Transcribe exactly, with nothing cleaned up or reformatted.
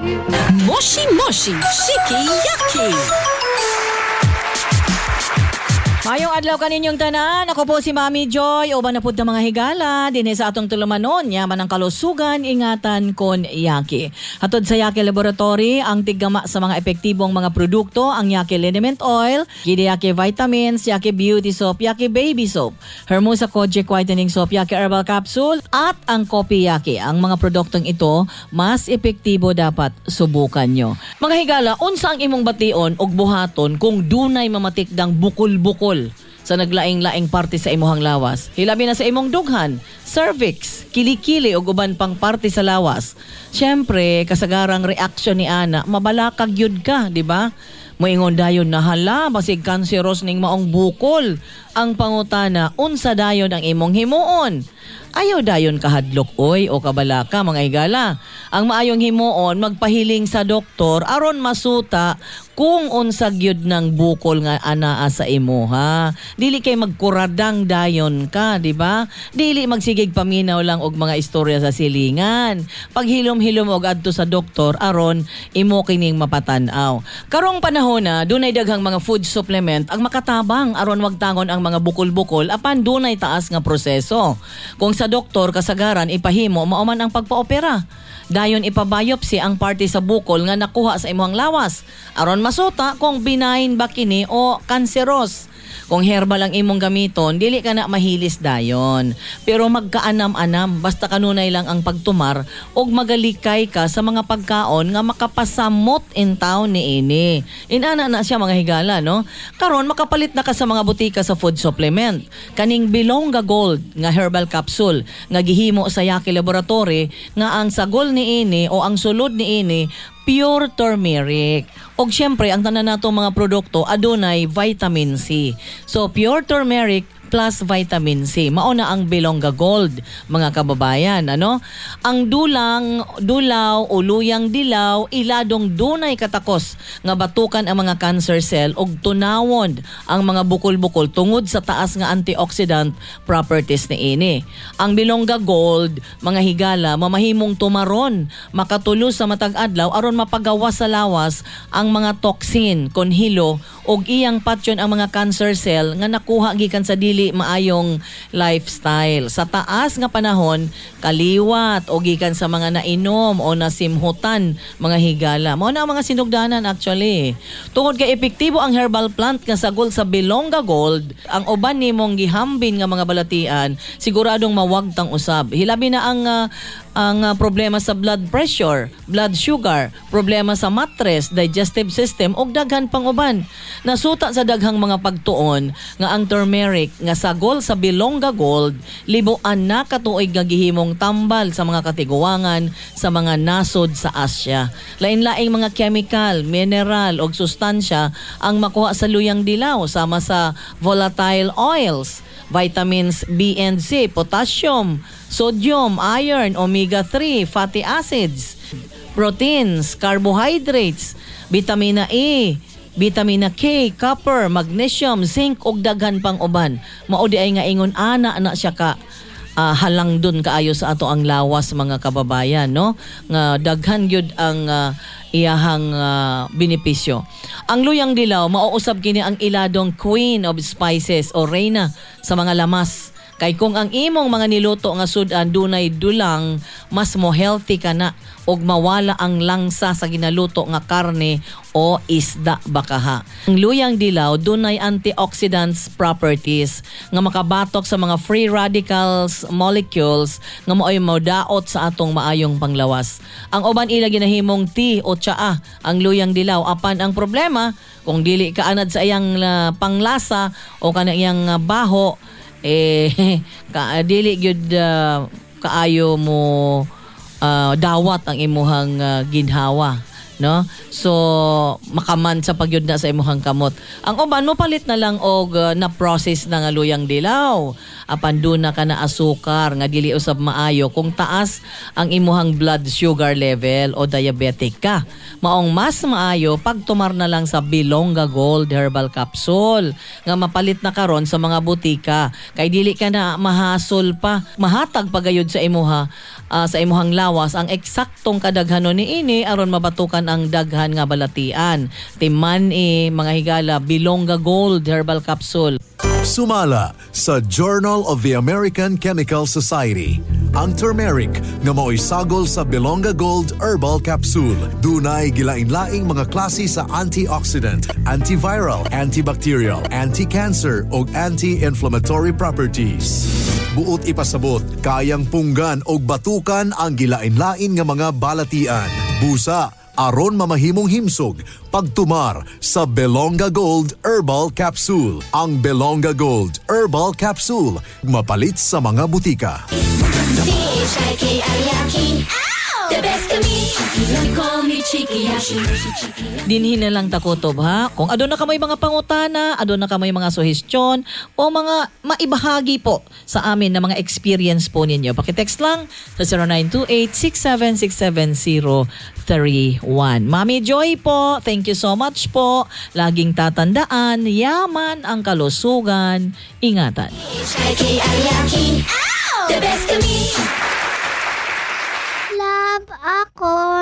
Moshi Moshi Shiki Yaki. Maayong adlaw kaninyong tanan. Ako po si Mami Joy. Uban na pud ta, mga higala dinhi sa atong tulumanon. Yaman ang kalusugan, ingatan kon Yaki. Hatod sa Yaki Laboratory, ang tiggama sa mga epektibong mga produkto, ang Yaki Liniment Oil, Gidi Yaki Vitamins, Yaki Beauty Soap, Yaki Baby Soap, Hermosa Kojic Whitening Soap, Yaki Herbal Capsule, at ang Kopi Yaki. Ang mga produktong ito, mas epektibo, dapat subukan nyo. Mga higala, unsa ang imong bation og buhaton kung dunay mamatikdang bukol-bukol sa naglaing-laing parte sa imuhang lawas? Hilabi na sa imong dughan, cervix, kilikili ug uban pang parte sa lawas. Siyempre, kasagarang reaksyon ni ana, mabalakag yun ka, di ba? Moingon dayon na, "Hala, basig cancerous ning maong bukol." Ang pangutana, unsa dayon ang imong himuon? Ayaw dayon kahadlok oy o kabalaka, mga higala. Ang maayong himuon, magpahiling sa doktor aron masuta kung unsa gyud ng bukol nga anaa sa imo ha. Dili kay magkuradang dayon ka, di ba? Dili magsigig paminaw lang og mga istorya sa silingan. Paghilom-hilom og adto sa doktor aron imo kining mapatan-aw. Karong panahon na dunay daghang mga food supplement ang makatabang aron wagtangon ang mga bukol-bukol, apan dunay taas nga proseso. Kung sa doktor, kasagaran ipahimo mao man ang pagpaopera. Dayon ipabiopsy ang parte sa bukol nga nakuha sa imong lawas aron masuta kung benign ba kini o cancerous. Kung herbal ang imong gamiton, dili ka na mahilis dayon. Pero magkaanam-anam, basta kanunay lang ang pagtumar og magalikay ka sa mga pagkaon nga makapasamot in town ni ini. Inana na siya, mga higala, no? Karon makapalit na ka sa mga butika sa food supplement. Kaning Bilongga Gold nga herbal capsule nga gihimo sa Yaki Laboratory, nga ang sagol ni ini o ang sulod ni ini pure turmeric. Og syempre, ang tanan natong mga produkto adunay vitamin C. So pure turmeric plus vitamin C. Mao na ang Bilongga Gold, mga kababayan, ano? Ang dulang, dulaw o luyang dilaw, iladong dunay katakos nga batukan ang mga cancer cell ug tunawon ang mga bukol-bukol tungod sa taas nga antioxidant properties ni ini. Ang Bilongga Gold, mga higala, mamahimong tumaron, makatulo sa matag adlaw aron mapagawas sa lawas ang mga toxin kon hilo ug iyang patyon ang mga cancer cell nga nakuha gikan sa dili maayong lifestyle. Sa taas nga panahon, kaliwat o gikan sa mga nainom o nasimhutan, mga higala. Mao na ang mga sinugdanan actually. Tungod kay epektibo ang herbal plant nga sagol sa Bilongga Gold, ang uban nimong gihambin nga mga balatian, siguradong mawagtang usab. Hilabi na ang ah, ang ah, problema sa blood pressure, blood sugar, problema sa matres, digestive system ug daghan pang uban. Nasuta sa daghang mga pagtuon nga ang turmeric nga sagol sa Bilongga Gold, libuan na katuig nga gihimong tambal sa mga katiguangan sa mga nasod sa Asya. Lain-laing mga chemical, mineral ug sustansya ang makuha sa luyang dilaw, sama sa volatile oils, vitamins B and C, potassium, sodium, iron, omega three fatty acids, proteins, carbohydrates, vitamina E, vitamina K, copper, magnesium, zinc ug daghan pang uban. Mao di ay nga ingon ana na siya ka ah, halang dun kaayo sa ato ang lawas, mga kababayan, no, nga daghan gyud ang ah, iyahang ah, benepisyo. Ang luyang dilaw, mauusab kini ang iladong queen of spices o reyna sa mga lamas. Kay kung ang imong mga niluto nga sudan dunay dulang, mas mo healthy ka na ug mawala ang langsa sa ginaluto nga karne o isda bakaha. Ang luyang dilaw dunay antioxidants properties nga makabatok sa mga free radicals molecules nga maoy modaot sa atong maayong panglawas. Ang uban ila ginahimong tea o tsaa ang luyang dilaw, apan ang problema, kung dili ka anad sa iyang ah, panglasa o kana iyang ah, baho eh, ka dili gyud ah, kaayo mo ah, dawat ang imuhang ah, ginhawa, no? So makaman sa pagyud na sa imuhang kamot. Ang uban mo palit na lang og ah, na process na nga luyang dilaw, apan duna ka na asukar nga dili usab maayo kung taas ang imuhang blood sugar level o diabetic ka. Maong mas maayo pagtumar na lang sa Bilongga Gold Herbal Capsule nga mapalit na karon sa mga butika, kay dili ka na mahasol pa, mahatag pagayod sa imuha ah, sa imuhang lawas ang eksaktong kadaghanon niini aron mabatukan ang daghan nga balatian. Timan eh, mga higala, Bilonga Gold Herbal Capsule. Sumala sa Journal of the American Chemical Society. Ang turmeric nga mao'y sagol sa Bilonga Gold Herbal Capsule. Dunay gilain-laing mga klase sa antioxidant, antiviral, antibacterial, anti-cancer ug anti-inflammatory properties. Buot ipasabot, kayang punggan og batukan ang gilain-lain nga mga balatian. Busa, aron mamahimong himsog pagtumar sa Belonga Gold Herbal Capsule. Ang Belonga Gold Herbal Capsule mapalit sa mga butika. C H I K I yaki. The best kami. You call me Chikiyashi. Dinhi na lang takutob ha. Kung aduna kamoy mga pangutana, aduna kamoy mga suhestyon o mga maibahagi po sa amin na mga experience po ninyo. Paki-text lang sa zero nine two eight, six seven six seven zero three one. Mami Joy po, thank you so much po. Laging tatandaan, yaman ang kalusugan. Ingatan. C H I K I yaki. The best kami. Love ako.